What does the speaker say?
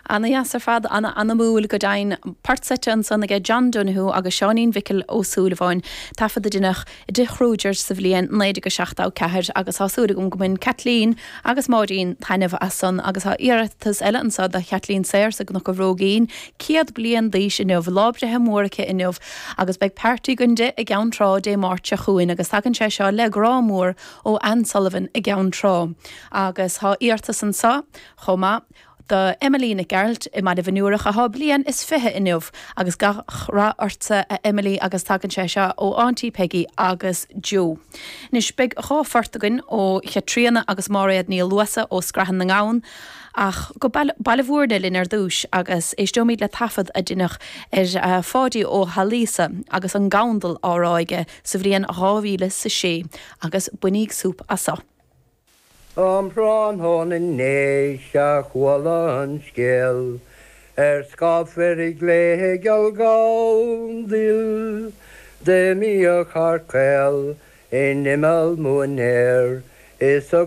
Ana dheas ar fad, ana anamúil go deimhin. Port seite ansan aige John Donoghue agus Seáinín Mhicil Ó Súilleabháin, taifead a deineadh i dTigh Kruger sa bhliain 1974 agus tá súil agam go mbain Caitlín agus Máirín taitneamh as san agus tá iarratas eile anso do Chaitlín Sayers i gCnoc an Bhróigín, 100 bliain d'aois inniu, lá breithe mór aici inniu agus beidh party againn di i gCeann Trá Dé Máirt seo chugainn agus tagann sé seo le grá mór ó Anne Sullivan i gCeann Trá agus tá iarratas anso chomh maith do Emily Nic Gearailt i mBaile Bhinn Iúrach athá bliain is 20 inniu agus gach rath ortsa a Emily agus tagann sé seo ó Auntie Peggy agus Joe. Anois beidh dha phort againn ó Chaitríona agus Máiréad Ní Luasa ó Scrathan na nGamhan ach go Baile Bhúirne linn ar dtúis agus éisteoimid le taifead a deineadh ar Pháidí Ó hAilíosa agus an Gandal á rá aige sa bhliain 2006 agus bainíg súp as so. Um thráthnóna inné 'sea chuala an scéal Ar scáth fir gléigeal Gandail D'imíodh thar caol in imeall móinéir Is a.